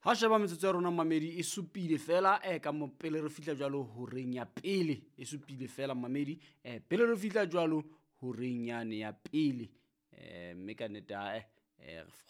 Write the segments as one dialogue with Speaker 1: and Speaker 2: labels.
Speaker 1: Ha sheba metsotso ya rona mamedi e supile fela ka mo pele re fihla jwalo horeng ya pele, e supile fela mamedi pele re fihla jwalo horeng yane ya pele. Mme ka nnete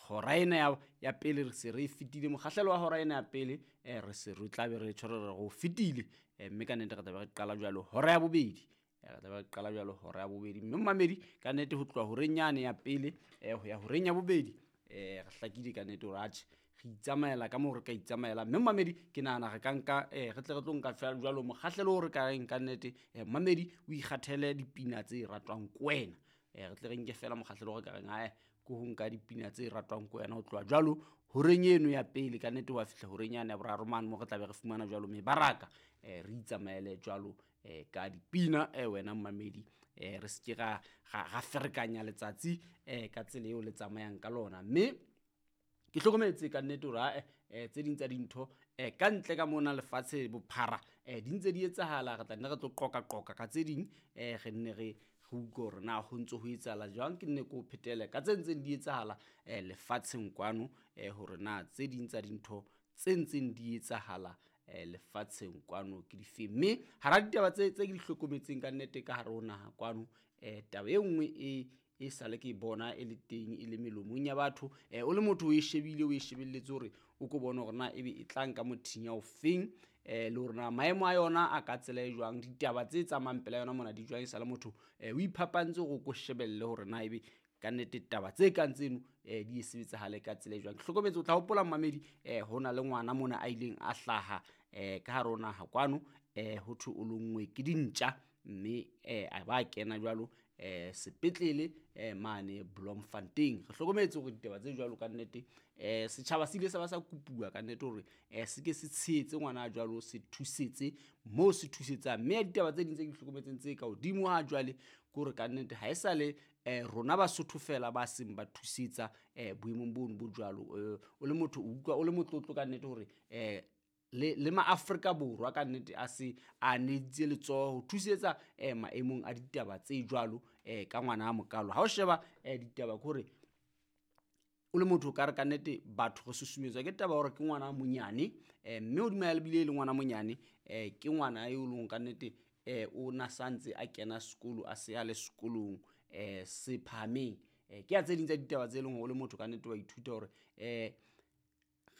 Speaker 1: hora ena ya pele re se re fetile mokgahlelo wa hora ena ya pele, re se re tlabe re tshwere re go fetile. Mme ka nnete re tlabe re qala jwalo hora ya bobedi, re tlabe re qala jwalo hora ya bobedi. Mme mamedi ka nnete ho tloha horeng yane ya pele ho ya horeng ya bobedi, re hlakile ka nnete hore atjhe re itsamaela ka moo re ka itsamaela. Mme mamedi ke nahana re ka nka re tle re tlo nka feela jwalo mokgahlelo o re ka reng ka nnete mamedi o ikgathele dipina tse ratwang ke wena. Re tle re nke feela mokgahlelo o re ka reng ae ke ho nka dipina tse ratwang ke wena ho tloha jwalo horeng eno ya pele ka nnete wa fihla horeng yane ya boraro mane mo re tlabe re fumana jwalo mebaraka, re itsamaele jwalo ka dipina wena mamedi, re se ke ra ferekanya letsatsi ka tsela eo le tsamayang ka lona. Mme ke hlokometse ka nnete hore ae tse ding tsa dintho ka ntle ka mona lefatshe bophara di ntse di etsahala. Re tla nne re tlo qoqaqoqa ka tse ding, re nne re utlwe hore na ho ntso ho etsahala jwang. Ke nne ke o phetele ka tse ntseng di etsahala lefatsheng kwano, hore na tse ding tsa dintho tse ntseng di etsahala lefatsheng kwano ke difeng. Mme hara ditaba tse ke di hlokometseng ka nnete ka hare ho naha kwano, taba e nngwe e sale ke bona e le teng e le melomong ya batho, o le motho o e shebile o e shebelletse hore o ko bone hore na ebe e tla nka mothinya o feng, le hore na maemo a yona a ka tsela e jwang, ditaba tse tsamayang pela yona mona di jwang. E sale motho o iphapantse hore o ko shebelle hore na ebe ka nnete taba tse kang tseno di e sebetsahale ka tsela e jwang. Ke hlokometse o tla hopola mamedi, ho na le ngwana mona a ileng a hlaha ka hare ho naha kwano, ho thwe o lonngwe ke dintja, mme a ba kena jwalo sepetlele mane Bloemfontein. Re hlokometse hore ditaba tse jwalo ka nnete setjhaba se ile sa ba sa kopuwa ka nnete hore se ke se tshehetse ngwana jwalo, se thusetse moo se thusetsang. Mme ya ditaba tse ding tse ke di hlokometseng tse ka hodimo ha jwale ke hore ka nnete ha e sa le rona Basotho fela ba seng ba thusetsa boemong bono bo jwalo. O le motho o utlwa o le motlotlo ka nnete hore le maAfrika Borwa ka nnete a se a needitse letsoho ho thusetsa maemong a ditaba tse jwalo ka ngwana a mokalo. Ha o sheba ditaba ke hore o le motho o ka re ka nnete batho re susumetswa ke taba hore ke ngwana a monyane, mme hodima ya lebile le ngwana monyane, ke ngwana eo leng ka nnete o na santse a kena sekolo, a se a le sekolong se phahameng. Ke ya tse ding tsa ditaba tse leng hore o le motho ka nnete wa ithuta hore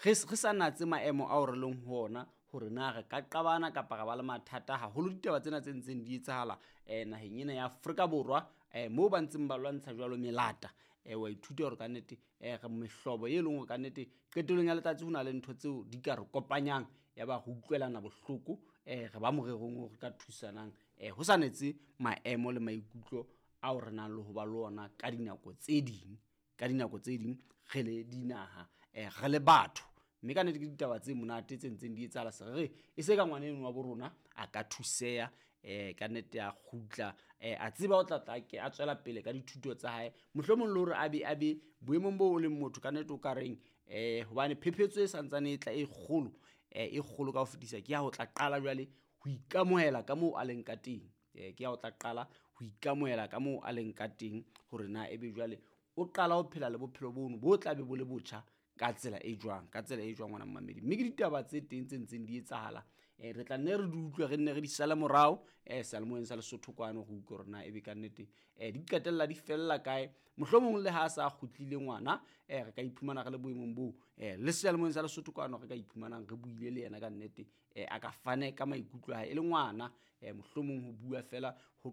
Speaker 1: re sa natse maemo ao re leng ho ona hore na re ka qabana kapa ra ba le mathata haholo. Ditaba tsena tse ntseng di etsahala naheng ena ya Afrika Borwa, moo ba ntseng ba lwantsha jwalo melata, wa ithuta hore ka nnete re mehlobo e leng hore ka nnete qetellong ya letsatsi ho na le ntho tseo di ka re kopanyang, ya ba re utlwelana bohloko, re ba morerong o re ka thusanang, ho sa netse maemo le maikutlo ao re nang le ho ba le ona ka dinako tse ding, ka dinako tse ding re le dinaha, re le batho. Mme ka nnete ke ditaba tse monate tse ntseng di etsahala. Se re e se ka ngwana eno wa bo rona a ka thuseha, ka nnete a kgutla, a tseba o tla tla ke a tswela pele ka dithuto tsa hae, mohlomong le hore a be boemong bo o leng motho ka nnete o ka reng, hobane phephetso e santsane e tla e kgolo, e kgolo ka ho fetisa ke ya ho tla qala jwale ho ikamohela ka moo a leng ka teng, ke ya ho tla qala ho ikamohela ka moo a leng ka teng hore na ebe jwale o qala ho phela le bophelo bono bo tla be bo le botjha ka tsela e jwang, ka tsela e jwang ngwana mmamedi. Mme ke ditaba tse teng tse ntseng di etsahala, re tla nne re di utlwe, re nne re di sale morao, seyalemoyeng sa Lesotho kwano, re utlwe hore na ebe ka nnete di qetella di fella kae. Mohlomong le ha sa kgutlile ngwana, re ka iphumana re le boemong boo, le seyalemoyeng sa Lesotho kwano re ka iphumanang re buile le yena ka nnete, a ka fane ka maikutlo a hae e le ngwana, mohlomong ho bua fela ho